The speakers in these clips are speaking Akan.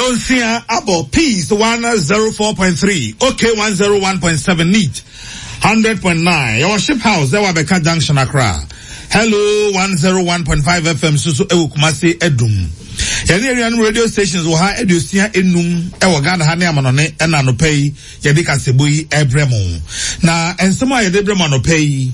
Nonsia abɔ Peace 104.3, OK 101.7, Neat 100.9. Yɛwɔ Ship House ɛwɔ Abɛka Junction Accra. Hello 101.5 FM nso so ɛwɔ Kumasi Adum. Yɛne anuanom radio stations wɔ ha aduosia enum ɛwɔ Ghana ha ne amanɔne ɛna anɔpa yi yɛde kasɛbɔ yi ɛbrɛ mo. Na nsɛm a yɛde brɛ mo anɔpa yi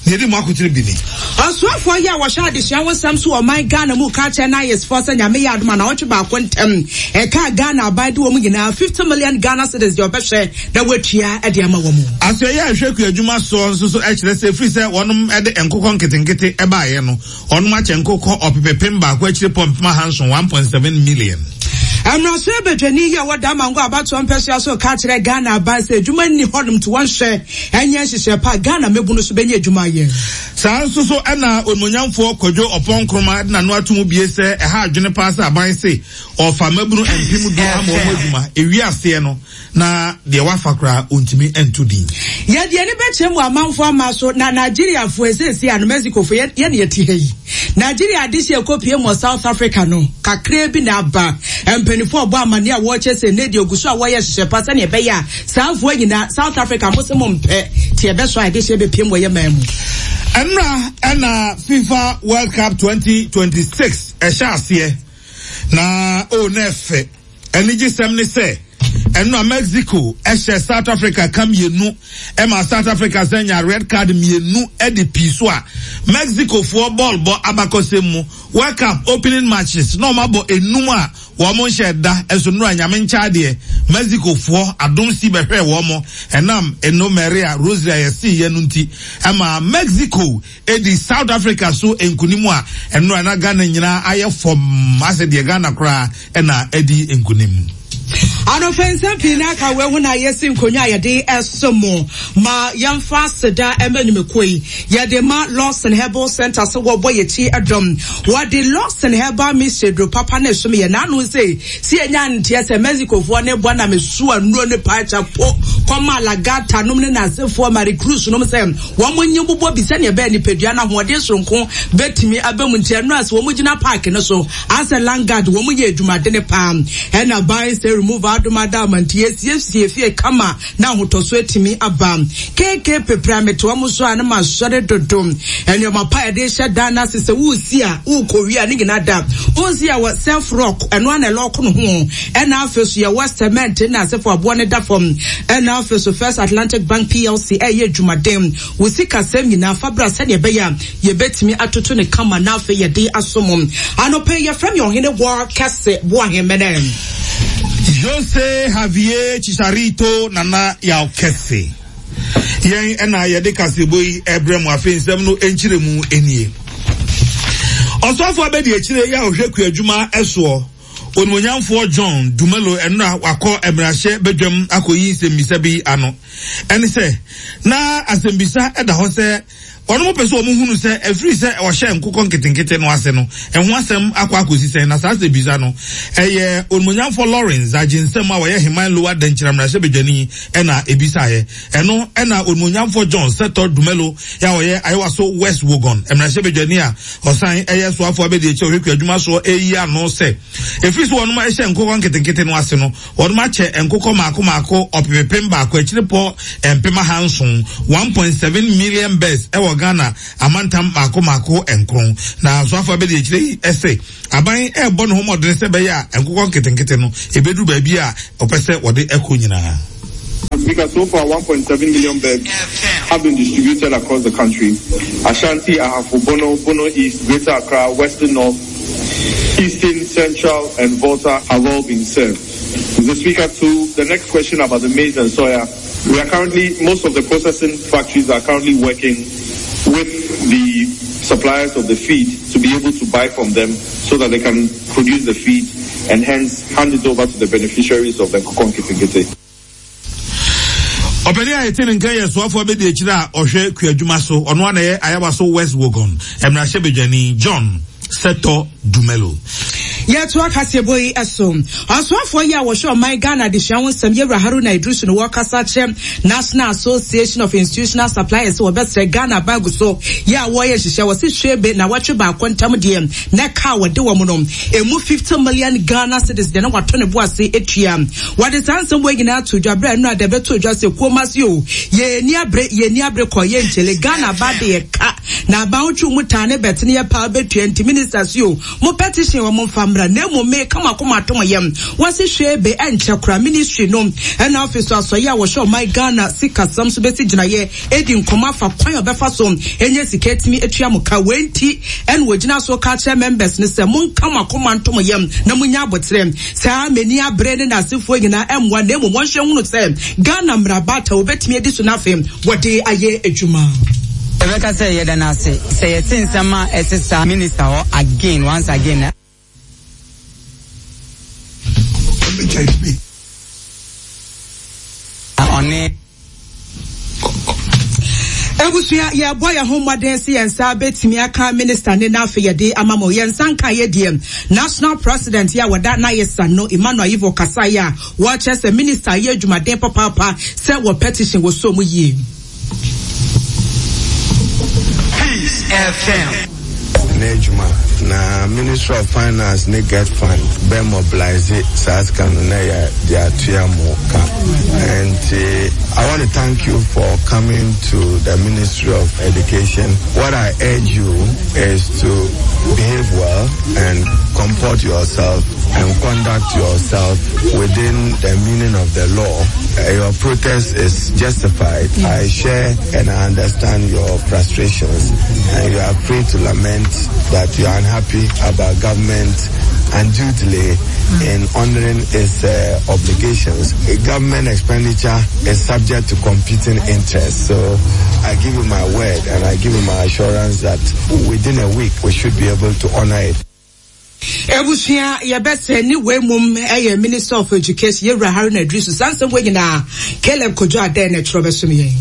Nea edi mu akotene bi ni. Ɔsoafoɔ yi a wɔhwɛ adesua ho nsɛm so wɔ ɔman Ghana mu ka kyerɛ NIS foɔ sɛ Nyame yɛ adom a naawɔtwe baako ntɛm ɛka a Ghana aban de wɔn nyinaa 50 million Ghana cedis deɛ ɔbɛhwɛ na watua de ama wɔn. Asoɛeɛ a ɛhwɛ kuadwuma soɔ nso so kyerɛ sɛ ɛfiri sɛ wɔnom de nkokɔ nketenkete baeɛ no, wɔnom akyɛ nkokɔ ɔpepepem baako akyire pɔ mpem ahanson, 1.7 million. Mmarahyɛ badwani yi a ɛwɔ Damango abatoɔ mpɛsoa so ka kyerɛ Ghana aban sɛ adwuma nni hɔnom nti wɔnhwɛ ɛnyɛ nhyehyɛɛ pa a Ghana mmabunu nso bɛnya adwuma ayɛ. Saa nso so na Onimuonyamfoɔ Kwadwo Ɔpɔn Nkrumah de n'ano ato mu bie sɛ ɛha adwene paa sɛ aban se ɔrefa mmabunu mpem du ama wɔn adwuma, ɛwie aseɛ no na deɛ wafa koraa ɔntumi nto din. Yɛde ani bɛkyerɛ mu amanfoɔ ama so na Nigeriafoɔ seesei a no Mexicofoɔ yɛ na yɛte ha yi. Nigeria adehye ɛkɔpue mu wɔ South Africa no kakraa bi na aba. Mpanimfoɔ ɔbɔ amaneɛ a wɔrekyerɛ sɛ nnɛ deɛ ɔgu so a wɔyɛ nhyehyɛ pa sɛdeɛ ɛbɛyɛ a Saa mfoa nyinaa South Africa mo se mo mpɛ ti ɛbɛsɔ a ɛde hyɛ bɛpiem wɔ yɛ man mu. Ɛnora ɛna FIFA World Cup 2026 ɛhyɛ aseɛ na o oh, na ɛfɛ anigyesɛm ne sɛ ɛnora Mexico ɛhyɛ South Africa ka mmienu ɛma South Africa sɛ nya red card mmienu ɛde pii so a Mexico foɔ bɔɔl bɔ abakɔsɛm mu World Cup opening matches na wɔn abɔ enum a Wɔn nhyɛ da nso nnora Nyame nkyɛ adeɛ Mexico foɔ adom si bɛhwɛɛ wɔn ɛnam Eno Maria Rosary a yɛsee yɛ no nti ɛmaa Mexico ɛdi South Africa so nkunim a nnora na Ghana nyinaa ayɛ fɔmm asɛ deɛ Ghana koraa ɛna adi nkunim. Anɔpa nsɛm pii na aka wei ho na yɛsi nkonnwa a yɛde ɛso mo ma yɛmfa aseda ɛma nnwumakuo yi yɛde ma Lawson Herbal Center sɛ wɔbɔ yɛkyi ɛdɔm Wɔde Lawson Herbal Mixture duro papa no resom yɛn. N'ano se, Se yɛnya nteɛ sɛ Mexicofoɔ ne bɔ na mesoa nnuro ne paakyɛ po kɔmaa La Gata nom ne n'asefoɔ Maricruz nom sɛ wɔn nye bobɔ bi sɛdeɛ ɛbɛyɛ nipadua no ahoɔden soronko bɛtumi aba mu nti ɛno a sɛ wɔn gyina park no so asɛ landguard wɔn yɛ adwumadene paa ɛna ban sɛ remove adom ada ama nti yɛsiesie fie kama na ahotɔso atumi aba. KK pepere a mete wɔn so a na masɔre dodo. Nneɛma pa a yɛde hyɛ dan no ase sɛ woresi a worekɔwie a ne nyinaa da. Wonsi a wɔ self rock ɛno a na ɛlɔɔko no ho. Ɛna afei so yɛwɔ cement na asefo aboɔ no da fam. Ɛna afei so First Atlantic Bank PLC ɛyɛ adwumaden. Wo sikasɛm nyinaa fa bra sɛdeɛ ɛbɛyɛ a yɛbɛtumi atoto no kama na afei yɛde asom. Anɔpa yi yɛfrɛ me Ɔhene Wɔ Kɛse Boahemene. Jose Javier Chicharito Nana Yaw Kɛse. Yɛn ɛna yɛde kaseɛbɔ yi ɛbrɛ mu afei nsɛm no nkyerɛmu nie. Ɔsɔfo abɛdi akyire yɛ a ɔhwɛ kuadwuma ɛsoɔ Onimuonyamfoɔ John Dumelo ɛnora wakɔ mmarahyɛ badwam akɔyi nsɛmmisa bi ano. Ɛne sɛ, na asɛmmisa ɛda hɔ sɛ Wɔnom pɛ sɛ wɔn hunu sɛ ɛfiri sɛ wɔhyɛɛ nkokɔ nketenkete no ase no, ɛho asɛm akɔ akɔsi sɛn, na saa asɛmmisa no, ɛyɛ Onimuonyamfoɔ Lawrence Agye-Nsɛm a ɔyɛ Heman Lower Dankyira mmarahyɛbadwani na ɛbisaeɛ. Ɛno na Onimuonyamfoɔ John Sethor Dumelo a ɔyɛ Ayewaso West Wuogon mmarahyɛbadwani a ɔsan yɛ soafoɔ abadiakyire a ɔhwɛ kuadwuma soɔ reyi ano sɛ ɛfiri sɛ wɔnom hyɛɛ nkokɔ nketenkete no ase no, Wɔnom akyɛ nkokɔ mmaako mmaako ɔpepepem baako akyirepɔ mpem ahanson, 1.7 million birds, wɔ Ghana amantam mmaako mmaako nkron. Na Soafoɔ abadiakyire yi se aban rebɔ ne ho mmɔdene sɛ ɛbɛyɛ a nkokɔ nketenkete no ɛbɛduru baabi a wɔpɛ sɛ wɔde kɔ nyinaa. Speaker, so far 1.7 million birds have been distributed across the country. Ashanti, Ahafo, Bono, Bono East, Greater Accra, Western North, Eastern, Central, and Volta have all been served. Mr. Speaker, to the next question about the maize and soya, we are currently, most of the processing factories are currently working with the suppliers of the feed to be able to buy from them so that they can produce the feed and hence hand it over to the beneficiaries of the Nkokɔ Nketenkete. Ɔpanin a yɛte ne nka yɛ soafoɔ abɛdi akyire a ɔhwɛ kuadwuma so, ɔno ara na ɛyɛ Ayawaso West Wuogon mmarahyɛbadwani John Sɛtɔ Dumelo. Yɛtoa kaseɛbɔ yi so. Ɔsoafoɔ yi a wɔhwɛ ɔman Ghana adesua ho nsɛm Yɛwura Haruna Iddrisu no wɔkasa kyerɛ National Association of Institutional Suppliers sɛ wɔbɛsrɛ Ghana aban gu so yɛ a wɔreyɛ nhyehyɛ wɔse hwebe nawɔtwe baako ntam deɛ na ɛka a wɔde wɔn no ɛmu 50 million Ghana cedis deɛ na wɔato ne bo ase atua. Wɔde saa nsɛm wei nyinaa to dwa berɛ a nnora da ɛbɛtoo dwa sɛ kuom ase o yɛnni abere yɛnni abere kɔ yɛnkyele Ghana aba de yɛ ka na aban wotwe mu taa ne bɛtene yɛ paa bɛtua nti minister se o Mo petition wɔ mo nfa mmra na mmom me ka mo akoma ato mo yam. Wɔse hwee be ɛnkyɛ koraa ministry no ɛna afei so asɔeɛ a wɔhwɛ ɔman Ghana sikasɛm so bɛsi gyinaeɛ adi nkɔmmɔ afa kwan a ɔbɛfa so anya sika atumi atua mo ka. Wei nti ɛna wɔgyina so ka kyerɛ members no sɛ monka mo akoma nto mo yam na monya aboterɛ. Saa m'ani abere ne n'asefoɔ nyinaa ɛmmoa na mmom wɔnhwɛ nhunu sɛ Ghana mmara baata wɔbɛtumi adi so na afei wɔde ayɛ adwuma. Yɛbɛka sɛ yɛda no ase sɛ yɛte nsɛm a ɛte saa minister hɔ again once again na. Ɔne. Abusua, yɛbɔ yɛn ho mmɔden sɛ yɛn nsa bɛtumi aka minister ne na afei yɛde ama mo. Yɛn nsa nka yɛ deɛ National President yɛ a wɔda n'ayesa no Emmanuel Ayivor kasaeɛ a wɔkyerɛ sɛ minister yɛ adwumaden papaapa sɛ wɔ petition wɔ so mu yie. Peace FM. N'adwuma na Ministry of Finance ne GetFund bɛ mobilise saa sika no na yɛ de atua mo ka. Nti I want to thank you for coming to the Ministry of Education. What I urge you is to behave well and comport yourself and conduct yourself within the meaning of the law. Your protest is justified. I share and I understand your frustrations, and you are free to lament that you are unhappy about government undue delay in honoring its obligations. Government expenditure is subject to competing interests. So I give you my word and I give you my assurance that within a week we should be able to honor it. Ebusua yɛbɛsɛ ne wei mom ɛyɛ Minister of Education yɛwura Haruna Iddrisu saa nsɛm wei nyinaa Caleb Kojo Adɛn na ɛtwerɛ bɛsom yɛn.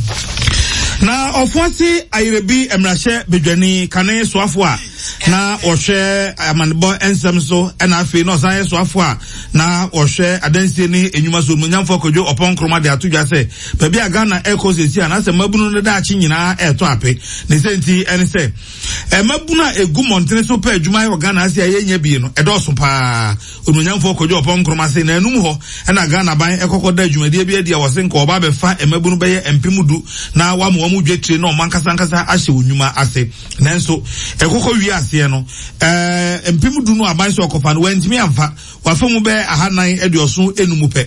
Na Ɔfoase Ayerebi mmarahyɛ badwani kane soafo a na ɔhwɛ amanebɔ nsɛm so ɛna afei na ɔsan yɛ soafo a na ɔhwɛ adansie ne nnwuma so Onimonyamfoɔ Kwadwo Ɔpɔn Nkrumah de ato dwa sɛ baabi a Ghana ɛrekɔ seesei a n'asɛ mmabunu no daakye nyinaa ɛretɔ ape ne sɛ nti ɛne sɛ Mmabunu a egu mmɔntene so pɛ adwuma ayɛ wɔ Ghana ase a yɛnnya bi no, ɛdɔɔso paa. Onuonyamfoɔ Kojo Oppong Nkrumah se naanum hɔ na Ghana aban kɔkɔ da dwumadie bi adi a wɔse nka wɔba abɛfa mmabunu bɛyɛ 10,000 na wɔama wɔn dwetire na wɔn ankasa ankasa ahyɛ wɔn nnwuma ase. Nanso ɛkɔkɔ wie aseɛ no, 10,000 no aban sɛ ɔkɔfa no, wantumi amfa. Wafa mu bɛyɛ 475 pɛ.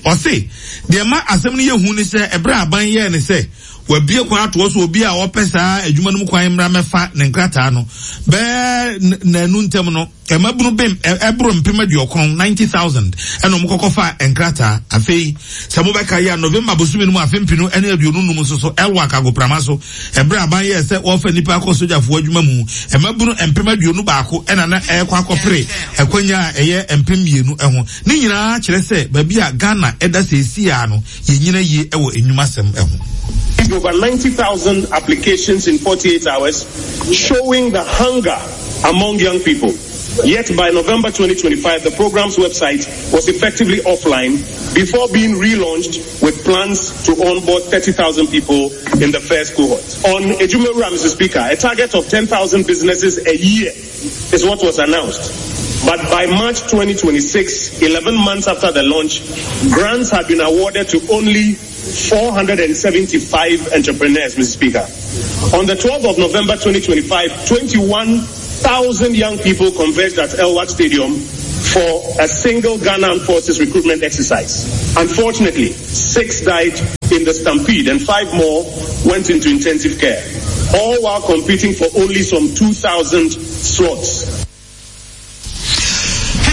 Ɔse, deɛ ɛma asɛm no yɛ hu ne sɛ ɛberɛ a aban yɛɛ ne sɛ wabue kwan atoɔ so obi a ɔpɛ saa adwuma no mu kwan mmra mmɛfa ne nkrataa no, bɛyɛ nnanu ntam no, mmabunu bem ɛboro 90,000, 90,000, ɛna wɔn kɔkɔ fa nkrataa. Afei, sɛ mobɛka yi a, November bosome no mu afe mpenu ne 25 nso so, Elwak agoprama so, ɛberɛ a aban yɛɛ sɛ wɔrefa nnipa akɔ sogyafoɔ adwuma mu, mmabunu 21,000 ɛna na ɛrekɔ akɔpere akwanya a ɛyɛ 2,000 ho. Ne nyinaa kyerɛ sɛ baabi a Ghana da seesei ara no, yɛnnyina yie wɔ nnwumasɛm ho. Over 90,000 applications in 48 hours, showing the hunger among young people. Yet by November 2025, the program's website was effectively offline before being relaunched with plans to onboard 30,000 people in the first cohort. On Ejumewura, Mr. Speaker, a target of 10,000 businesses a year is what was announced. But by March 2026, 11 months after the launch, grants had been awarded to only 475 entrepreneurs, Mr. Speaker. On the 12th of November 2025, 21,000 young people converged at Elwak Stadium for a single Ghana Armed Forces recruitment exercise. Unfortunately, six died in the stampede and five more went into intensive care, all while competing for only some 2,000 slots.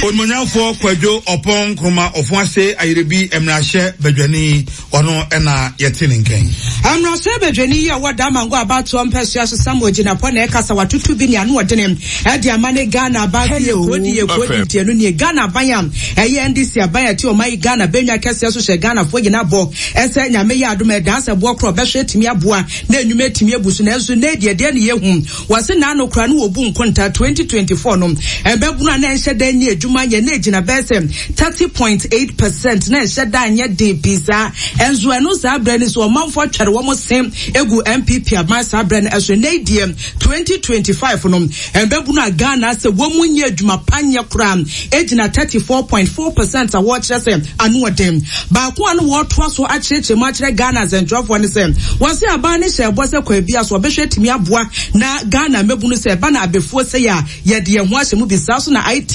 Onimuonyamfoɔ Kwadwo Ɔpɔn Nkrumah Ofoase Ayerebi Mmarahyɛ Badwani, ɔno na yɛte ne nkɛn. Mmarahyɛbadwani yi a ɔwɔ Damango abatoɔ mpɛsoa so Samuel Jinapor na ɛkasa watoto bi ne ano ɔdene ɛde ama ne Ghana aban sɛ yɛ kuro di yɛ kuro di nti ɛno nie Ghana aban a ɛyɛ NDC aban a ɛte ɔman yi Ghana bɛnwa kɛseɛ so hyɛ Ghanafoɔ nyina bɔ ɛsɛ Nyame yɛ adom ɛdaa sɛ boɔ korɔ bɛhwɛ atumi aboa na nnwuma atumi abu so nanso nnɛ deɛ deɛ ne yɛhu Wɔse naano koraa no wɔbu nkonta 2024 no ɛbɛbono a na ɛnhyɛ da nyɛ adwuma nyɛ na ɛgyina bɛyɛ sɛ 30.8 percent na ɛnhyɛ da nyɛ den pii saa ɛnso ɛno saa berɛ no so ɔmanfoɔ atwɛre wɔn se egu NPP aban saa berɛ no ɛso ɛnɛ yi deɛ 2025 no ɛbɛbono a Ghana sɛ wɔn mu nyɛ adwuma pa nyɛ koraa ɛgyina 34.4 percent a wɔkyerɛ sɛ ano ɔden. Baako a na wɔretoa so akyerɛkyerɛ mu akyerɛ Ghana nsɛntwerɛfoɔ ne sɛ, wɔse aban no hyɛɛ bɔ sɛ kwan biara so wɔbɛhwɛ atumi aboa na Ghana mmabunu sɛ ɛba no abɛfuo sei a yɛde yɛn ho ahyɛ mu bi saa so na IT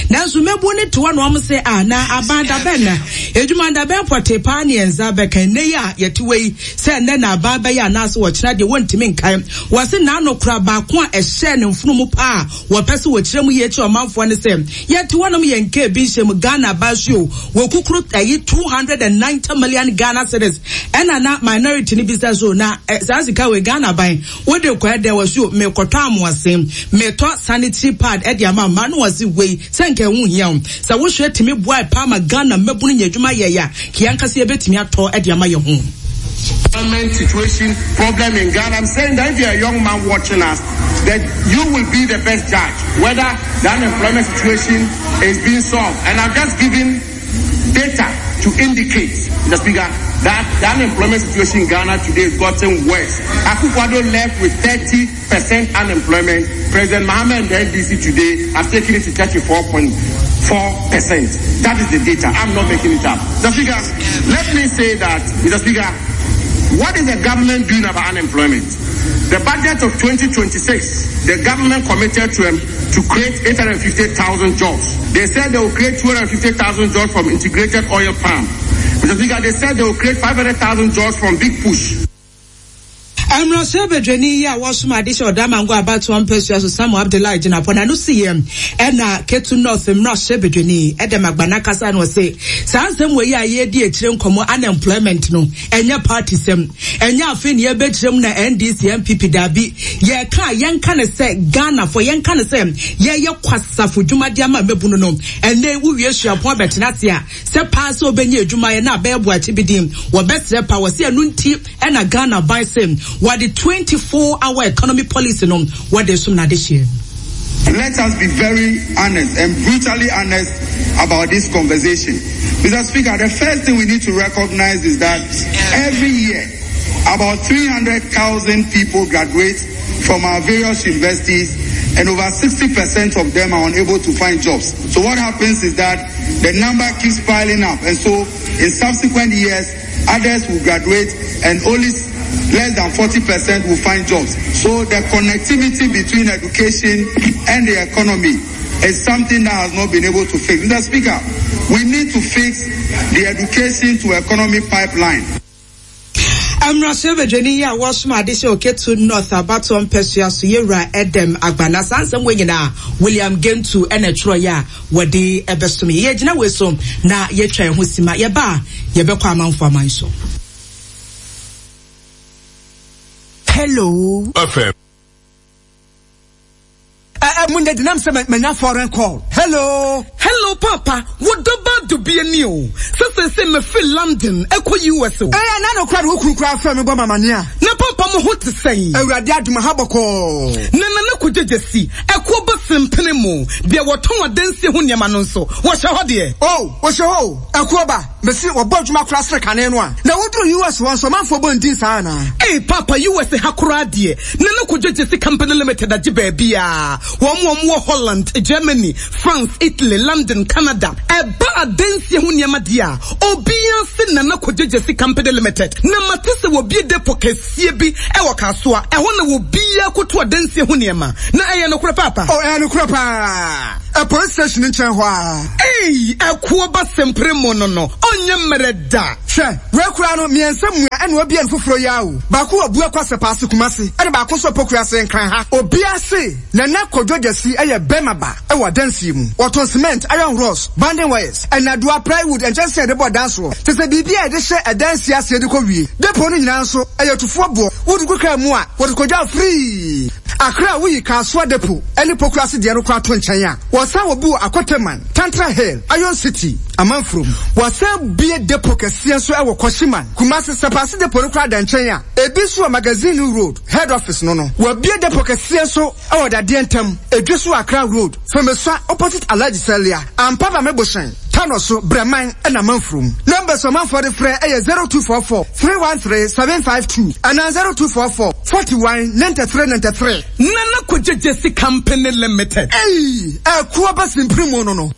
nanso mmabunu no te hɔ na wɔn se ah na aban dabɛn na adwuma dabɛn pɔtee paa ne yɛn nsa bɛka nnɛ yi a yɛte wɔ yi sɛ nnɛ na aban bɛyɛ anaasɛ wɔkyena deɛ wɔntumi nkae. Wɔse n'ano kora baako a ɛhyɛɛ ne mfono mu paa Wɔpɛ sɛ wɔkyerɛ mu yie kyerɛ ɔmanfoɔ ne sɛ, yɛte hɔnom yɛn nkaa bi nhyɛ mu, Ghana aba so o, wɔkukuru ɛyi 290 million Ghana cedis, ɛna na minority no bisa so na saa sika wei Ghana aban wode kɔ ɛdɛ wɔ so o, mekɔtɔ amoasen, metɔ sanitary pad ɛde ama mmaa no wɔse wei sɛ nka ɛho hia o, sɛ wohwɛ tumi boae paa ma Ghana mmabunu nya adwuma yɛe a, ka yɛn ankasa yɛbɛtumi atɔ ɛde ama yɛn ho. Employment situation problem in Ghana. I'm saying that if you're a young man watching us, that you will be the best judge whether the unemployment situation is being solved. And I'm just giving data to indicate, Mr. Speaker, that the unemployment situation in Ghana today has gotten worse. Akufo-Addo left with 30% unemployment. President Mahama and the NDC today have taken it to 34.4%. That is the data. I'm not making it up. Mr. Speaker, let me say that, Mr. Speaker, what is the government doing about unemployment? The budget of 2026, the government committed to, um, to create 850,000 jobs. They said they will create 250,000 jobs from integrated oil palm. Mr. Speaker, they said they will create 500,000 jobs from Big Push. Mmarahyɛbadwani yi a wɔsom ade hyɛ Ɔdamango abatoɔ mpasua so Samuel Abdullahi Jinapor n'ano siiɛ ɛna Ketu North mmarahyɛbadwani Edem Agbana kasa na ɔse saa nsɛm wɔ yi a yɛredi akyire nkɔmmɔ unemployment no ɛnyɛ party sɛm ɛnyɛ afei ne yɛbɛkyerɛ mu na NDC NPP daabi yɛka a yɛnka ne sɛ Ghanafoɔ yɛnka ne sɛ yɛyɛ kwasafo dwumadi ama mmabunu no ɛnɛ wowie suapɔn bɛtena ase a sɛ paa sɛ wobɛnya adwuma yɛ na abɛyɛ boakye bi din wɔbɛsrɛ pa wɔ sɛ ɛno nti ɛna Ghana ban sɛ wɔde 24 hour economy policy no wɔde som n'adehyeɛ. Let us be very honest and brutally honest about this conversation. Mr. Speaker, the first thing we need to recognize is that every year, about 300,000 people graduate from our various universities and over 60% of them are unable to find jobs. So what happens is that the number keeps piling up. And so in subsequent years, others will graduate and only less than 40% will find jobs. So the connectivity between education and the economy is something that has not been able to fix. Mr. Speaker, we need to fix the education to economy pipeline. Mmarahyɛbadwani yi a wɔsom ade hyɛ Oketu North abatoɔ mpɛsoa so yɛwura Edem Agbana. Saa nsɛm wɔ nyinaa William Gentu ɛna ɛtwerɛeɛ a wɔde ɛbɛsom yɛ. Yɛgyina wei so na yɛtwa yɛn ho sima. Yɛba a yɛbɛkɔ amanfo aman so. Hello. FM. Eh, eh, munde dinam sɛ manya foreign call. Hello. Hello, Papa. Wo dɔba dubie ni o. Sɛ sɛ sɛ mefiri London ɛkɔ US o. Eh, na no kora de wo kunu kora frɛ me bɔ mamane a. Na papa mo ho te sɛn? Awurade adom ha bɔkɔɔ. Na nana kɔgyegye si ɛkoɔ ba sempene mu. Deɛ wɔtɔn adansie ho nneɛma no nso, wɔhyɛ hɔ deɛ. Oh, wɔhyɛ hɔ o. Ɛkoɔ ba. Mese wɔbɔ adwuma koraa sene kane no a. Na woduru US hɔ nso ɔmanfoɔ bɔ ndin saa anaa? Ei paapa US ha koraa deɛ Nana Kojo Gyesi Company Limited agye baabiaa. Wɔn a wɔwɔ Holland, Germany, France, Italy, London, Canada. Ɛba adansie ho nneɛma deɛ a, obiara se Nana Kojo Gyesi Company Limited. Na mate sɛ wɔbue depot kɛseɛ bi wɔ Kasoa. Ɛhɔ na obiara kɔtu adansie ho nneɛma. adwuma. Na ɛyɛ nokorɛ paapa? Oh, ɛyɛ nokorɛ paa. Ɛ police station nkyɛn hɔ ara. Ei, ɛkoɔ ba sempere mo no no, ɔnyɛ mmerɛ da. Hwɛ, wei koraa no, mmiɛnsa mua ɛna wabue no foforɔ yi ara o. Baako wɔ Buakwa Sɛpaase Kumasi, ɛna baako nso wɔ Pokuase Nkran ha. Obiara se Nana Kojo Gyasi yɛ bɛrima ba wɔ adansie mu. Wɔtɔn cement, iron rods, banding wires, nnadewa, plywood, nkyɛnsee a yɛde bɔ dan soɔ, kyerɛ sɛ biribi a yɛde hyɛ adansie aseɛ de kɔ wie. Depot no nyinaa nso, ɛyɛ tufoɔ boɔ. Wode gu kaa mu a, wɔde kɔgya wo firii. Accra a woyi Kasoa Depot ne Pokuase deɛ no koraa to nkyɛn a, wɔsan wɔ bi wɔ Akoteman, Tantra Hill, Iron City, Amanfurom. Wɔasan abue depot kɛseɛ nso wɔ Kwashiman, Kumasi. Sapase Depot no koraa da nkyɛn a, ebi nso wɔ Magazine Road, Head Office no no. Wɔabue depot kɛseɛ nso wɔ Dadeɛ Ntam, Edweso Accra Road, Femesua opposite Alhaji Salia, Ampaba Mebohyɛn, Tano so, Brɛman na Amanfurom. Numbers a ɔmanfoɔ de frɛ yɛ 0244 313 752 anaa 0244 41 93 93. Nana Kogye Gyesi Company Limited. Ei! Ɛko aba simpiri mu no no.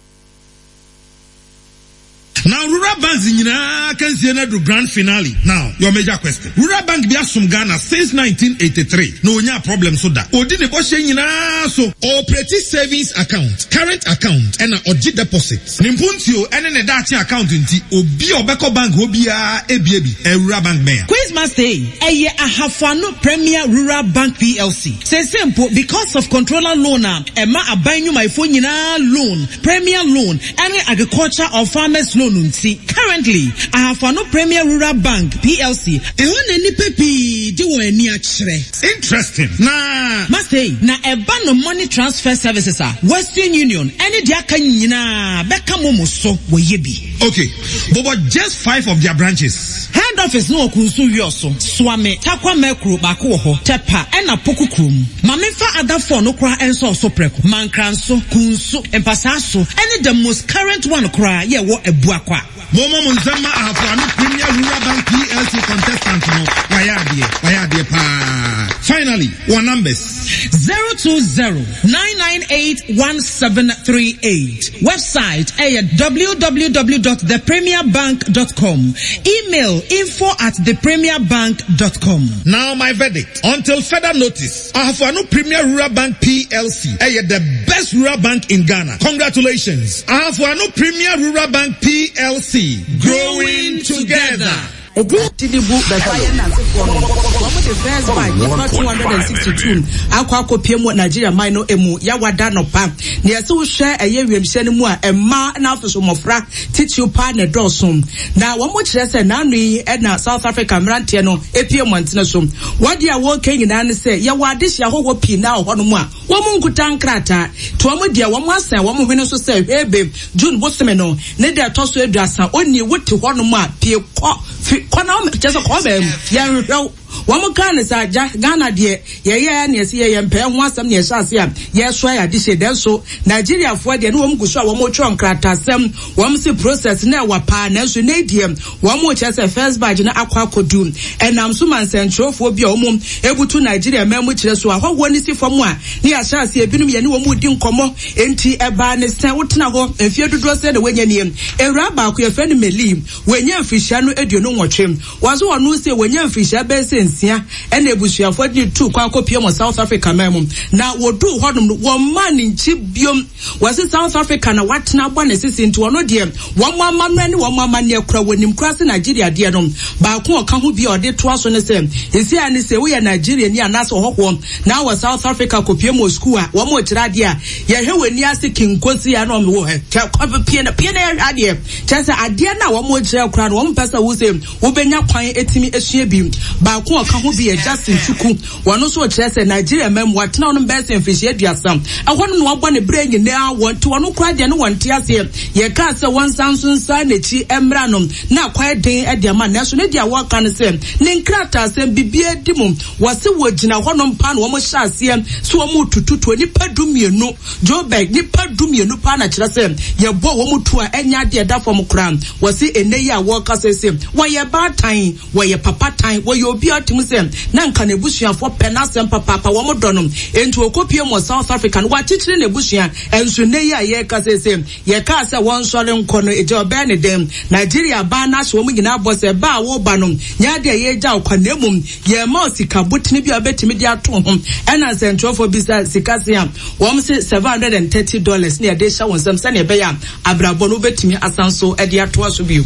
Now rural banks nyinaa akansie no aduru grand finale now your major question rural bank bi asom Ghana since 1983 na onyaa problem so da odi ne bɔhyɛ nyinaa so ɔoperate savings account current account ɛna ɔgye deposit ne mpuntuo ɛne ne daakye account nti obi a ɔbɛkɔ bank hɔ biara ebie bi ɛyɛ rural bank bɛn a. Quizmaster ei, ɛyɛ Ahafo Ano Premier Rural Bank PLC. Seesei mpo, because of controller loan a ɛma aban nnwumayɛfoɔ nyinaa loan, Premier Loan ne Agriculture or Farmers Loan nti, currently, Ahafo Ano Premier Rural Bank PLC, Ɛhɔ na nnipa pii de wɔn ani akyerɛ. Interesting na. Masei, na ɛba no money transfer services a, Western Union ne deɛ aka nyinaa bɛka momo so, wɔyɛ bi. Okay, bobɔ just five of their branches. Head office no wɔ Kunsu Wiɔso, Suame, Tarkwa Mɛkuro baako wɔ hɔ, Tɛpa ɛna Poku kurom. Ma menfa other four no koraa nsɔɔ so prɛko, Mankranso, Kunsu, Mpasaaso ɛne the most current one koraa yɛ ɛwɔ Abuakwa. Mommɔ mo nsam ma Ahafo Ano Premier Rural Bank PLC contestant no, wayɛ adeɛ, wayɛ adeɛ paa. Finally, wɔn numbers. 020 998 1738. Website ɛyɛ www dot thepremierbank dot com. Email info at thepremierbank dot com. Now my verdict, until further notice, Ahafo-Ano Premier Rural Bank PLC ɛyɛ the best rural bank in Ghana. Congratulations, Ahafo-Ano Premier Rural Bank PLC, growing together. Edin Tinubu bɛfa yɛn nansefoɔ no, wɔn de first batch nnipa 262 akɔ akɔpie mu wɔ Nigeria man no mu Yawada anɔpa. Nea ɛsɛ wohwɛ ɛyɛ wiemhyɛn no mu a, mmaa na afei so mmɔfra titiriw paa na ɛdɔɔso. Na wɔn kyerɛ sɛ n'ano yi na South Africa mmeranteɛ no epie mmɔntene so. Wɔn deɛ a wɔreka nyinaa ne sɛ yɛwɔ adehye ahɔhoɔ pii na wɔ hɔnom a Wɔn nkuta nkrataa, nti wɔn deɛ wɔn asɛn wɔn hwene so sɛ hwɛɛbe, June bosome no ne da ɛtɔ so aduasa, onii wo te hɔ nom a pie kɔ fi kɔ na kyerɛ sɛ kɔ baa mu, yɛnhwehwɛ wo. Wɔn kaa no saa, gya, Ghana deɛ yɛyɛɛ ne yɛse yɛyɛ mpɛɛ ho asɛm na yɛhyɛ ase a yɛsoa yɛ adehye, nanso Nigeriafoɔ deɛ ne wɔn gu so a wɔn retwerɛ nkrataasɛm, wɔn se process no ɛwa paa, nanso nnɛ yi deɛ Wɔn kyerɛ sɛ first batch no akɔ akɔdu. Ɛnam so ma nsɛnkyerɛwfoɔ bi a wɔn butu Nigeria man mu kyerɛ so ahɔhoɔ no si fam a ne yɛahyɛ aseɛ ebinom yɛne wɔn redi nkɔmmɔ. Enti ɛbaa ne sɛ wotena hɔ mfeɛ dodoɔ sɛn na woanya nie? Awuraa baako yɛfrɛ no Meli wanya mfirihyia no 28. Wɔse ɔno sei wanya mfirihyia bɛyɛ sɛ nsia ɛna abusuafoɔ de no tuu kwan kɔpue wɔ South Africa man mu. Na wɔduu hɔnom no wɔmmaa ne nkyi biom. Wɔse South Africa na watena abɔ ne sese nti ɔno deɛ wɔn amammerɛ ne wɔn amanneɛ kora wɔnim koraa se Nigeria deɛ no. Baako a ɔka ho bi a ɔde toa so ne sɛ seesei ara ne sɛ woyɛ Nigeriani anaasɛ ɔhɔhoɔ na wɔ South Africa kɔpue mu wɔ sukuu a wɔn rekyerɛ adeɛ a yɛhwɛ w'ani ase kinkosi a na wɔn wɔ hɛ kyɛ kɔ pue na pue na yɛhwɛ adeɛ kyerɛ sɛ adeɛ no a wɔn rekyerɛ koraa no wɔn mpɛ sɛ wo sɛ wobɛnya kwan atumi asua bi. Baako a ɔka ho bi yɛ Justin Chukwu. Wɔn nso kyerɛ sɛ Nigeria man mu watena hɔ nom bɛyɛ sɛ mfirihyia aduasa. Ɛhɔ nom na wabɔ ne berɛ nyinaa wɔ nti ɔno koraa deɛ ne wɔnte aseɛ. Yɛkaa sɛ wɔnsan nso nsan n'akyi mmra no na akɔyɛ den de ama no nanso ne deɛ wɔka ne sɛ ne nkrataasɛm biribiara di mu. Wɔse wɔgyina hɔ nom paa na wɔn hyɛ aseɛ sɛ wɔn retututuo nnipa dumienu, Joburg nnipa dumienu paa na kyerɛ sɛ yɛbɔ wɔn tuo a ɛnyɛ adeɛ ɛda fam koraa. Wɔse ɛnnɛ yi a wɔrekasa yi se wɔyɛ baatan. Wɔyɛ papa tan, wɔyɛ obi a ɔte. tumi sɛ na nka n'abusuafoɔ pɛ n'asɛm papaapa, wɔn dɔ no. Enti ɔkɔpue mu wɔ South Africa no, wakyekyere n'abusua. Nso nnɛ yi a yɛreka seesei, yɛkaa sɛ wɔnsɔre nkɔ no, egya ɔbɛyɛ ne dɛn? Nigeria aban no ahyɛ wɔn nyinaa bɔ sɛ, ba a woreba no, nyɛ adeɛ a yɛregya wo kwan, na mmom yɛrema wo sika botene bi a wobɛtumi de ato ho. Ɛna nsɛntwerɛfoɔ bisa sika se a, wɔn se $730 na yɛde rehyɛ wo nsam sɛdeɛ ɛbɛyɛ a abrabɔ no wobɛtumi asan so de atoa so bio.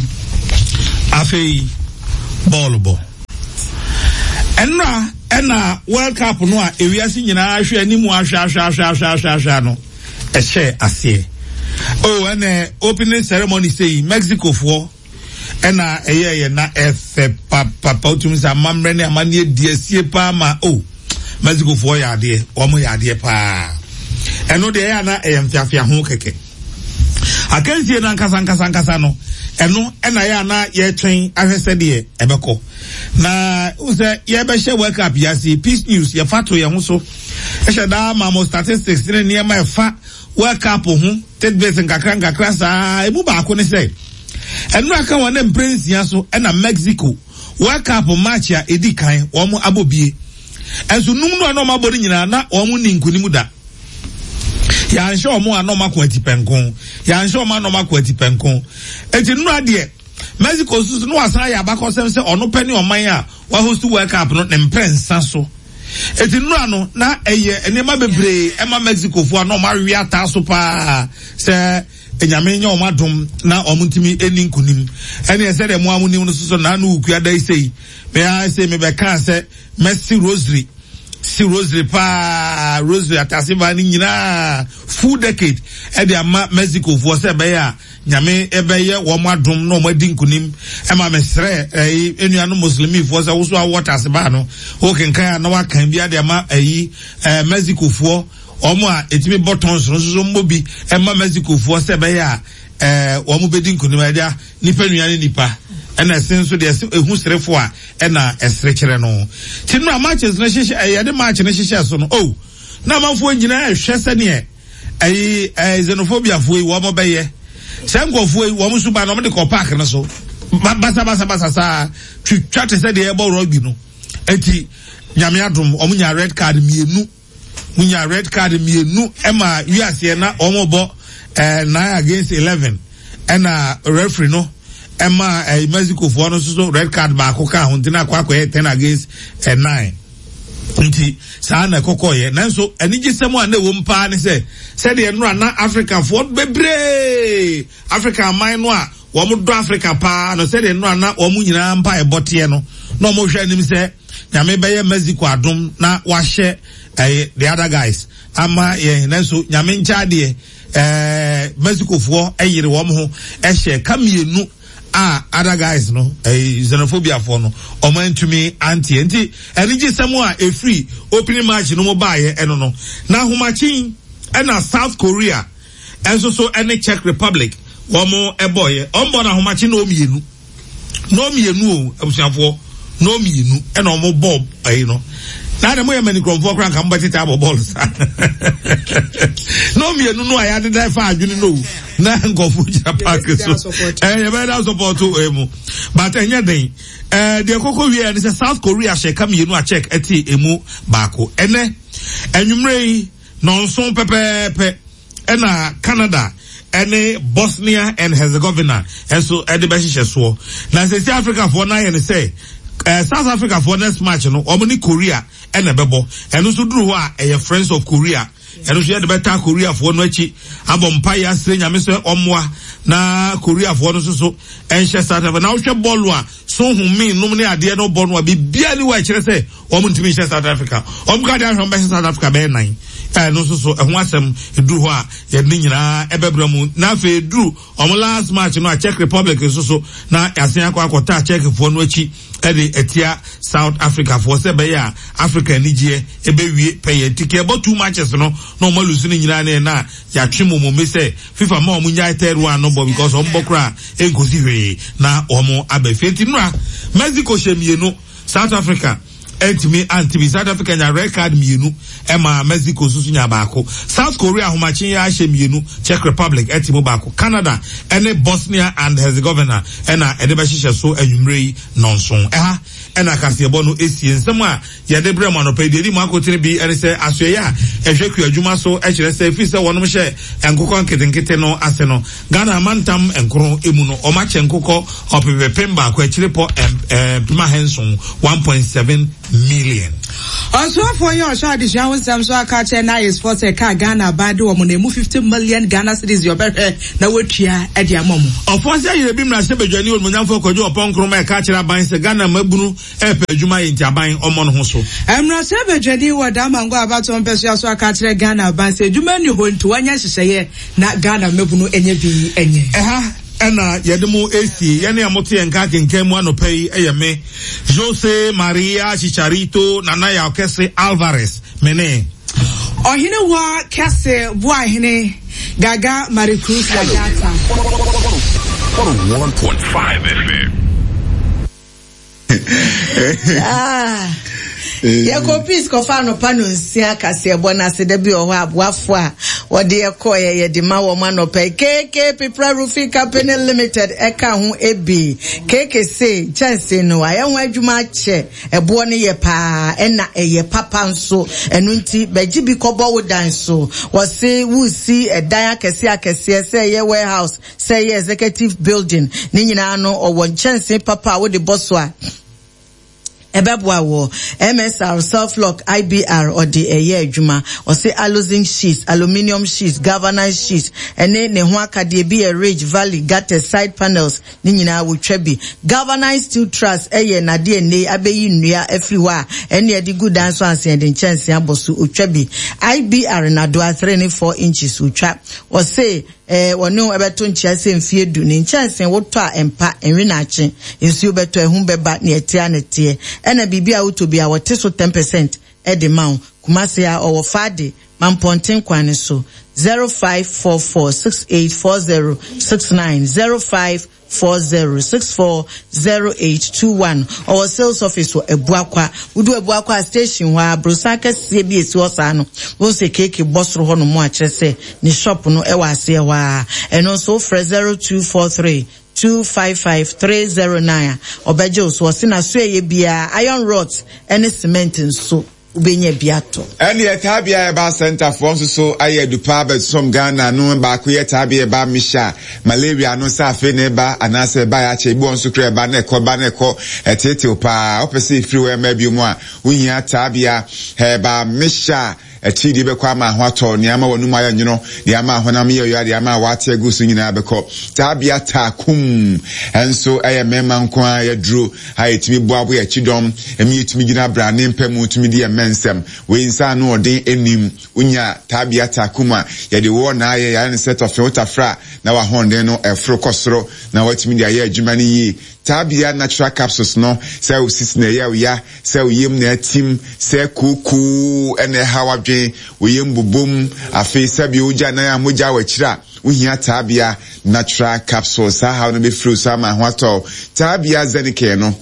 Afei bɔɔlo bɔ. Ɛnora ɛna World Cup no a ewiase nyinaa hwɛ anim ahwɛ ahwɛ ahwɛ ahwɛ ahwɛ ahwɛ no ɛhyɛ aseɛ. Oh, ɛnɛ opening ceremony sɛ yi Mexico foɔ ɛna ɛyɛ yɛ na ɛfɛ papapa wotumi sɛ amammerɛ ne amanneɛ di asie paa ma oh Mexico foɔ yɛ adeɛ wɔn yɛ adeɛ paa ɛno deɛ ɛyɛ ana ɛyɛ mfeafea ho kɛkɛ akansie no ankasa ankasa ankasa no ɛno ɛna ɛyɛ ana yɛtwɛn ahwɛ sɛdeɛ ɛbɛkɔ na sɛ yɛbɛhyɛ World Cup yi ase Peace News yɛfa to yɛn ho so ɛhyɛ daa ma mo statistics ne nneɛma ɛfa World Cup ho tidbits nkakra nkakra saa emu baako ne sɛ ɛnora ka wɔn ne mprɛnsia so ɛna Mexico World Cup match a edi kan wɔn abɔ bie ɛnso num no a na wɔn abɔ no nyinaa na wɔn ni nkunim da yɛanhyɛ wɔn a na wɔn ako atipɛnko yɛanhyɛ wɔn a na wɔn ako atipɛnko eti nnora deɛ Mexico nso so na wasan ayɛ abakɔsɛm sɛ ɔno pɛ ne ɔman a wahost World Cup no ne mprɛnsa so. Eti nnora no na ɛyɛ nneɛma bebree ɛma Mexicofoɔ a na wɔn awe ataa so paa sɛ Nyame nyɛ wɔn adom na wɔn ntumi ɛni nkunim. Ɛne ɛsɛ deɛ mo a mo nim no soso na ano wukua da yi sei. Me ara sei mebɛkaa sɛ mɛsi rosary si rosary paa rosary atase baa no nyinaa full decade ɛde ama Mexicofoɔ sɛ ɛbɛyɛ a Nyame bɛyɛ wɔn adom na wɔn adi nkunim. Ɛma me srɛ ɛyi enuanom Muslimifoɔ sɛ woso awɔ tasebaa no wokenkan a na wakan bi ade ama ɛyi ɛɛ Mexicofoɔ wɔn a etumi bɔ tɔns no nso mmɔ bi ɛma Mexicofoɔ sɛ ɛbɛyɛ a ɛɛ wɔn bɛdi nkunim. Ɛgya nipa nua ne nipa ɛna ɛse nso deɛ ɛse ehu serefo a ɛna ɛsere kyerɛ no. Ti no a matches no hyehyɛ ɛyɛ de match no hyehyɛ so no oh na amanfoɔ nyinaa ɛhwɛ sɛneɛ ɛyi ɛɛ xenophobia foɔ yi wɔn bɛyɛ sɛ nkurɔfoɔ yi wɔn suban na wɔn de kɔ park no so basabasabasa saa twitwa te sɛ deɛ ɛbɔ rugby no eti nyame adom wɔn nya red card mmienu wɔn nya red card mmienu ɛma wiaseɛ na wɔn bɔ ɛɛ nine against eleven ɛna referee no ɛma ɛɛ mexico foɔ no nso so red card baako ka ho nti na akɔ akɔyɛ ten against ɛɛ nine. Nti saa na ɛkɔkɔeɛ. Nanso anigyesɛm a na ɛwɔ mu paa ne sɛ, sɛdeɛ nnora na Afrikafoɔ bebree, Afrika aman no a wɔdɔ Afrika paa no, sɛdeɛ nnora na wɔn nyinaa mpaebɔ teɛ no, na wɔhwɛ anim sɛ Nyame bɛyɛ Mexico adom na wahyɛ ɛyɛ the other guys ama yɛn. Nanso Nyame nkyɛ adeɛ, ɛɛ Mexicofoɔ yere wɔn ho hyɛ ka mmienu a other guys no ɛyi xenophobia foɔ no wɔn antumi anteɛ nti anigyesɛm a efiri opening match no mu baayɛ ɛno no na ahomakyen ɛna South Korea ɛnso so ɛne Czech Republic wɔn ɛbɔɔyɛ wɔn bɔ no ahomakyen na wɔn mmienu na wɔn mmienu o abusuafoɔ na wɔn mmienu ɛna wɔn bɔ ɛyi no na de mo yɛ mani kurɔfoɔ koraa nka mo bɛ tete abɔ bɔɔl saa na wɔn mmienu no a yɛadeda ɛfa adwene no o. na nkurɔfo gyina park so ɛɛ yɛbɛyɛ dɛ asɔpɔto ɛɛ mu but ɛnyɛ den ɛɛ deɛ kɔkɔ wie ɛne sɛ South Korea hyɛ ka mmienu a Czech ɛte emu baako ɛnɛ ɛnwummerɛ yi nɔnson pɛpɛɛpɛ ɛna Canada ɛne Bosnia and Herzegovina ɛnso ɛde bɛhyehyɛ soɔ na sɛsi Africafoɔ no ayɛ ne sɛ ɛɛ South Africafoɔ next match no wɔn ne Korea ɛna ɛbɛbɔ ɛno nso duru hɔ a ɛyɛ Friends of Korea. Ɛno nso yɛde bɛtaa Koreafoɔ no akyi abɔ mpaeɛ asrɛ Nyame sɛ ɔmmoa na Koreafoɔ no nso so nhyɛ South Africa. Na wohwɛ bɔɔlo a Son Heung-min nom ne adeɛ no bɔ no a biribiara ni hɔ a ɛkyerɛ sɛ wɔn ntumi nhyɛ South Africa. Wɔn ka deɛ ahwɛ wɔn bɛhyɛ South Africa bɛyɛ nan. Ɛno nso so ɛho asɛm ɛduru hɔ a yɛde ne nyinaa ɛbɛbrɛ mu. Na afei ɛduru wɔn last match no a Czech Republic nso so na yɛasen akɔ akɔtaa Czechfoɔ no akyi de atia South Africa foɔ sɛ ɛbɛyɛ a Africa anigyeɛ ɛbɛwie pɛyɛ. Nti ka ɛbɔ two matches no na wɔn alusu no nyinaa ne na yɛatwe momome sɛ FIFA ma wɔn nyae third one no bɔ because wɔn bɔ koraa ɛnkosi hwee na wɔn aba fie. Nti nora Mexico hyɛ mmienu, South Africa. antumi ante bi. South Africa nya red card mmienu ɛma Mexico nso so nya baako. South Korea ahomakye yi ahyɛ mmienu, Czech Republic ɛte mu baako. Canada ɛne Bosnia and Herzegovina ɛna ɛde bɛhyehyɛ so anwummerɛ yi nnɔnson. Ɛha ɛna kaseɛbɔ no esie. Nsɛm a yɛde brɛ mo anɔpa yi, deɛ ɛdi mu akotene bi ne sɛ asoɛeɛ a ɛhwɛ kuadwuma so kyerɛ sɛ ɛfiri sɛ wɔnom hyɛ nkokɔ nketenkete no ase no, Ghana amantam nkron mu no, wɔakyɛ nkokɔ ɔpepepem baako akyirepɔ 7000, 1.7 million. Ɔsoafoɔ yi a ɔhwɛ adesua ho nsɛm so aka akyerɛ NAISfoɔ sɛ ɛka a Ghana aban de wɔn no ɛmu 50 million Ghana cedis deɛ ɔbɛhwɛ na watua de ama wɔn. Ɔfoase Ayerɛbi mmarahyɛbadwani Onimonyamfoɔ Kwadwo Ɔpɔn Nkrumah ɛka akyerɛ aban sɛ Ghana mmabunu Ɛrepɛ adwuma ayɛ nti aban ɔmmɔ ne ho so. Mmarahyɛbadwani wɔ Damango abatoɔ mpɛsoa so aka akyerɛ Ghana aban sɛ adwuma nni hɔ nti wɔnyɛ nhyehyɛeɛ na Ghana mmabunu nyɛ bi nyɛ. Ɛha na yɛde mo resie. Yɛne a mote yɛn nka akenkan mu anɔpa yi yɛ me, Jose Maria Chicharito Nana Yaw Kɛse Alvarez, me ne. Ɔhene Wa Kɛse Boahene Gaga Maricruz Lagata. 101.5 FM. Ah, yɛkɔ peace kɔfa anɔpa no nsia kaseɛbɔ no ase da bi wɔ hɔ aboafo a wɔde ɛkɔɛ yɛde ma wɔn anɔpa yi KK Pipra Roofing Company Limited ɛka ho ebi KK se nkyɛnse no ayɛ ho adwuma akyɛ ɛboɔ no yɛ paa ɛna ɛyɛ papa nso ɛno nti bɛgye bi kɔbɔ wo dan so wɔse wusi ɛdan akɛseɛ akɛseɛ sɛ ɛyɛ warehouse Sɛ ɛyɛ executive building ne nyinaa no ɔwɔ nkyɛnsee papa a wode bɔ so a ɛbɛboa wɔ MSR, self lock, IBR ɔde ɛyɛ adwuma. Ɔse aluzinc sheets, aluminium sheets, galvanized sheets ɛne ne ho akadeɛ bi yɛ ridge, valley, gutters, side panels ne nyinaa wotwa bi. Galvanized steel truss ɛyɛ nadeɛ nnei abɛyi nnua afiri hɔ a ɛne ɛde gu dan so ansa yɛde nkyɛnsee abɔ so otwa bi. IBR nadoa 3 ne 4 inches otwa. Ɔse Ɛɛ, wɔne wo bɛto nkyea sɛ mfeɛ du. Ne nkyɛnsee wotɔ a ɛmpa, ɛnwe naakye. Nsuo bɛtɔ, ahum bɛba, nea ɛteɛ ara na ɛteɛ. Ɛna biribi a wotɔ biara, wɔte so ten percent de ma wo. Kumasi ha, ɔwɔ Fade, Mampɔnten kwan no so. 0544 6840 69, 05. 40640821 Ɔwɔ sales office wɔ Abuakwa. Wodu Abuakwa a, station hɔ ara, aborosan kɛseɛ bi a ɛsi hɔ saa no, wobɛhu sɛ keeki bɔ soro hɔ nom a kyerɛ sɛ ne shop no wɔ aseɛ hɔ ara. Ɛno nso wofrɛ 0243 255 309 a, ɔbɛgye wo so. Ɔse n'asoɛeɛ biara, iron rods ne cement nso. wobɛnya bi atɔ. Ɛneɛ Taabea Herbal Centre foɔ nso so ayɛ adu paa bɛsom Ghana no baako yɛ Taabea Herbal Mixture malaria no sɛ afei na ɛba anaasɛ ɛbaeɛ akyɛ ebi wɔ nso koraa ɛba na ɛkɔ ba na ɛkɔ ɛteetew paa wopɛ sɛ ɛfiri hɔ ɛmma bio mu a wohia Taabea Herbal Mixture Atiridii bɛkɔ ama ho atɔ, nea ama w'anum ayɛ nwono, deɛ ama honam yɛ ɔya, deɛ ama w'ate agu so nyinaa bɛkɔ. Taabea taa kum nso yɛ mmarima nko ara aduro a ɛtumi boaboa yɛn kyidɔm ma yɛtumi gyina abrane mpa mu tumi di yɛn mmɛ nsɛm. Wei nsa ano ɔden nnim. Wonya taabea taa kum a, yɛde woɔ na ayɛ, yɛayɛ no sɛ tɔfe, wotafra a na w'ahoɔden no foro kɔ soro na woatumi de ayɛ adwuma no yie. Taabea natural capsules no, sɛ wo sisi na ɛyɛ wo ya, sɛ wo yam na atim, sɛ kookoo na ɛhaw adwene, wo yam bobom, afei sɛbe wogya nan a mogya wɔ akyiri a, wohia Taabea natural capsules. Saa haw no bɛfiri wo so ama ho atɔ wo. Taabea Xenicare no,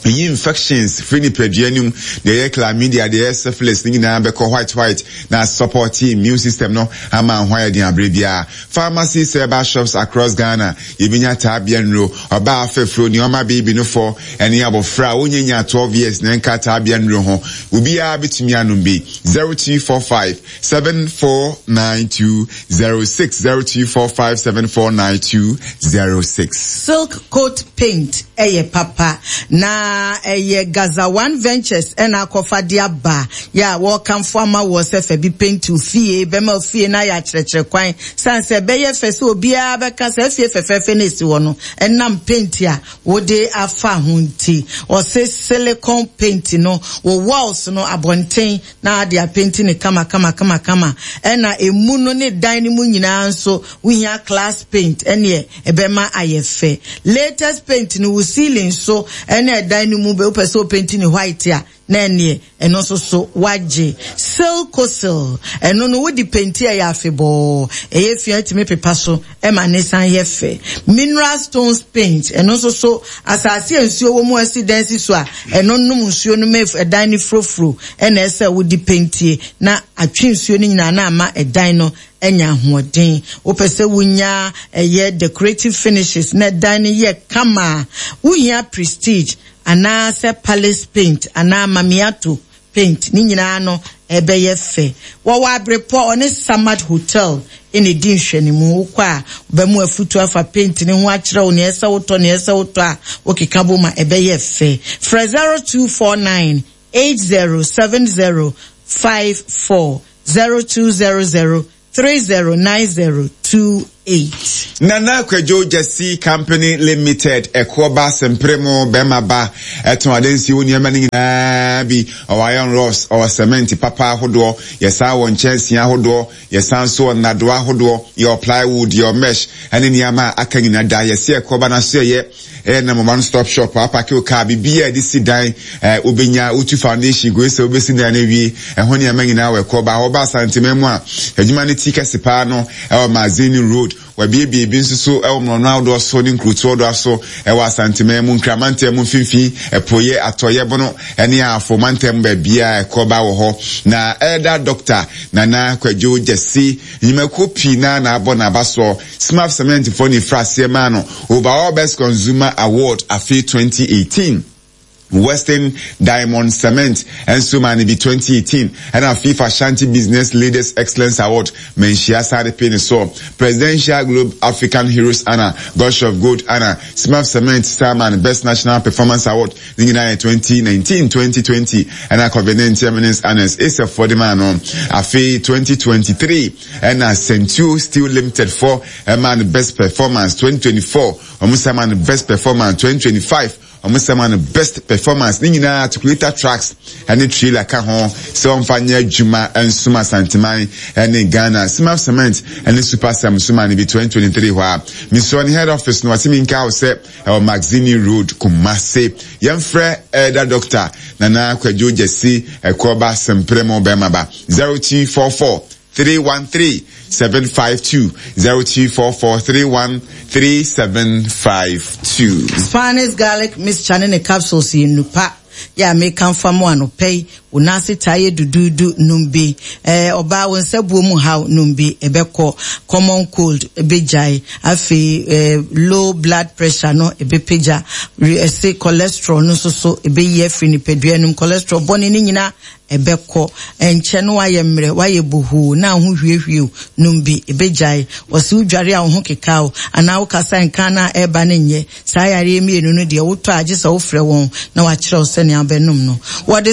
Eyi infections firi nipadua no mu, deɛ ɛyɛ chlamydia, deɛ ɛyɛ syphilis ne nyinaa bɛkɔ white white na support immune system no ama ho ayɛ den aberɛ biara. Pharmacies, herbal shops across Ghana, yɛbɛnya taabea nnuro, ɔbaa afɛfuro, nea ɔma baby no fɔ, ɛne abɔfra a ɔnnya nyaa 12 years na ɛnka taabea nnuro ho. Obiara bɛtumi anom bi. 0245 749206 0245 749206. Silk coat paint yɛ papa na ɛyɛ Gaza One Ventures na akɔfa de aba yɛ a wɔrekamfo ama woɔ sɛ fa bi paint wo fie, bɛma wo fie no ayɛ akyerɛkyerɛ kwan sane sɛ ɛbɛyɛ fɛ sɛ obiara bɛka saa fie fɛfɛɛfɛ no a ɛsi hɔ no ɛnam paint a wode afa ho nti. Ɔse silicone paint no wo walls no abɔnten na ade apenti no kama kama kama kama ɛna emu no ne dan no mu nyinaa nso wohia class paint ɛneɛ ɛbɛma ayɛ fɛ. Latest paint no wo ceiling so ɛne ɛdan. Ɛdan no mu bɛ wopɛ sɛ wopenti ne white a, na ɛneɛ ɛno nso so wagye. Silkosil, ɛno no wode penti a ɛyɛ afebɔɔ, ɛyɛ fi a wotumi pepa so ma ne san yɛ fɛ. Mineral stones paint, ɛno nso so asase a nsuo wɔ mu a asi dan si so a, ɛno nom nsuo no ma ɛdan no furofuro ɛna ɛsɛ wode pentie na atwe nsuo no nyinaa na ama ɛdan no anya ahoɔden. Wopɛ sɛ wonya ɛyɛ decorative finishes na ɛdan no yɛ kama a, wohia Prestige anaasɛ Palace paint anaa Mamiato paint, ne nyinaa no ɛbɛyɛ fɛ. Wɔwɔ Abrepɔ, ɔne Samad Hotel na ɛdi nhwɛnimu. Wokɔ a, wɔbɛma afutuo afa paint no ho akyerɛ wo nea ɛsɛ wotɔ, nea ɛsɛ wotɔ a wokeka bom a ɛbɛyɛ fɛ. Frɛ 0249 8070 54 0200 309028. Nana Kwadwo Gyasi Company Limited, Ɛkoɔ ba Sempere mo bɛrima ba, ɛtɔn adansie wo nneɛma no nyinaa bi, ɔwɔ iron rods, ɔwɔ cement papa ahodoɔ, yɛsan wɔ nkyɛnsee ahodoɔ, yɛsan nso wɔ nnadoa ahodoɔ, yɛwɔ plywood, yɛwɔ mesh, ɛne nneɛma a aka nyinaa da, yɛse ɛkoɔ ba no aso ɛyɛ. Ɛyɛ nam one stop shop apake wo car biribiara a yɛde si dan ɛɛ wobɛnya wotu foundation kɔsi sɛ wobɛsi dan no awie ɛho nneɛma nyinaa wɔ ɛkɔ ba hɔ ba Asanteman mu a adwuma no ti kɛse paa no ɛwɔ Mazini Road wabiebie bi nso so ɛwɔ mmorɔno ahodoɔ so ne nkurotoɔ doɔ so ɛwɔ Asanteman mu Nkramantam mu mfimfini ɛpoeɛ atɔeɛ bono ɛne Ahafo mantam baabiara ɛkɔ ba wɔ hɔ na ɛda Dr. Nana Kwadwo Gyasi nnwumakuo pii naa na abɔ n'abasoɔ Smaf Cement foɔ na ɛfiri aseɛ maa no Overall Best Consumer Award afe 2018. Western Diamond Cement nso maa no bi 2018 ɛna FIFA Ashanti Business Leaders Excellence Award manhyia saa de pee ne soɔ. Presidential Globe African Heroes Honour, Gush of Gold Honour, Smaf Cement san maa no Best National Performance Award ne nyinaa yɛ 2019, 2020 ɛna Covid-19 Eminence Honours ASEF foɔ de maa no afe 2023. Ɛna Centuo Steel Limited fɔ ɛmaa no best performance 2024, wɔn san maa no best performance 2025, wɔn san maa no best performance. Ne nyinaa articulator trucks ɛne trailer ka ho sɛ wɔmfa nyɛ adwuma nsom Asanteman ɛne Ghana. Simaf Cement ɛne Super Cem nso maa no bi 2023 hɔ a. Mesrɛ ne head office no wɔse menka wo sɛ ɛwɔ Magazine Road, Kumasi. Yɛmfrɛ Elder Doctor Nana Kwadwo Gyasi Ɛkoɔba Sempremo Bɛmaba 0244 313 752 0244 313 752. Spanish garlic mixture ne ne capsules yɛ nnupa yɛ a mekamfo ama wo anɔpa yi. Wo nan ase taa yɛ duduudu, nom bi. Ɛɛ, ɔbaa, wo nsa buo mu haw, nom bi. Ɛbɛkɔ. Common cold, ɛbɛgyae. Afei, ɛɛ, low blood pressure no, ɛbɛpagya. Ɛse cholesterol no nso so, ɛbɛyi afiri nipadua no mu. Cholesterol bɔne no nyinaa, Ɛbɛkɔ. Ɛnkyɛ na woayɛ mmerɛ, woayɛ bohoo, na wo ho hwiehwie wo. Nom bi. Ɛbɛgyae. Wɔse wodware a wo ho keka wo, anaa wokasa a nka no a ɛreba no nyɛ. Saa yareɛ mmienu no deɛ, wotɔ a gye sɛ wofrɛ wɔn na wɔakyerɛ wo sɛnea wobɛnom no. Wɔde.